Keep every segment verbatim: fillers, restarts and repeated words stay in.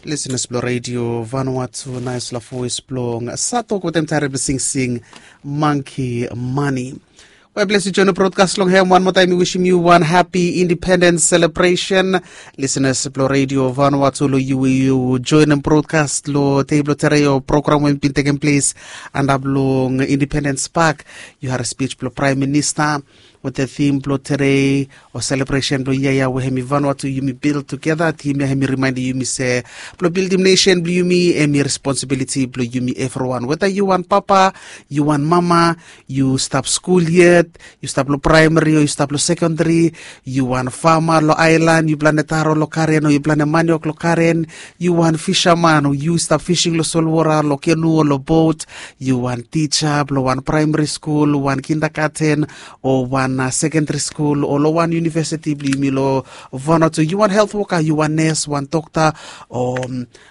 Lisenas blong redio Vanuatu, naispela voes blong Satok wetem tare blong singsing Monkey Money. Well, bless yu join brodkas long hem. Wan moa taem mi wisim yu wan happy independence celebration. Lisenas blong redio Vanuatu, long yu we yu joinim brodkas long dei blong tere o program we bin tekem ples antap long Independence Park. Yu harim spij blong Praem Minista wetem tim blong tere o selebresen blong yia ya we hemi Vanuatu yumi bil tugeta. Tim ya hemi rimaendim yumi se blong bildim nesen blong yumi hemi responsibiliti blong yumi evriwan. Weta yu wan papa, yu wan mama, yu stap skul yet, yu stap long praemari o yu stap long sekondari, yu wan fama long aelan, yu plante taro long karen o yu plante maniok long karen, yu wan fisaman o yu stap fising long solwota long kenu o long bot, yu wan tija blong wan praemari skul, wan kindagaten o wan sekondari skul o long wan univesiti blong yumi long Vanuatu, yu wan helt woka, yu wan nes, wan dokta o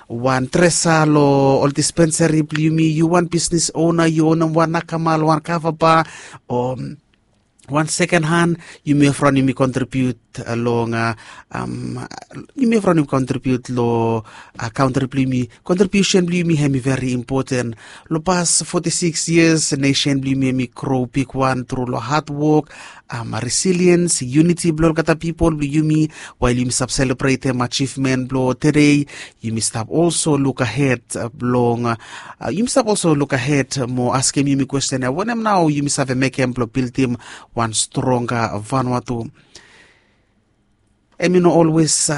wan dresa long ol dispensari blong yumi, yu wan bisnis ona, yu onem wan nakamal, wan kavaba o wan seken han, yumi evriwan yumi kontribiut long yumi evriwan yumi kontribiut long kantri blong yumi. Kontribiusen blong yumi hemi veri impoten. Long pas foti sikis yias nesen blong yumi hemi gro bigwan tru long hadwok, resiliens, yuniti blong olgeta pipol blong yumi. Wael yumi stap selebretem ajivmen blong tede, yumi stap olso lukahed blong yumi stap olso lukahed mo askem yumi kwesten ya, wanem nao yumi save mekem blong bildim wan stronga Vanuatu? Hemi no olwes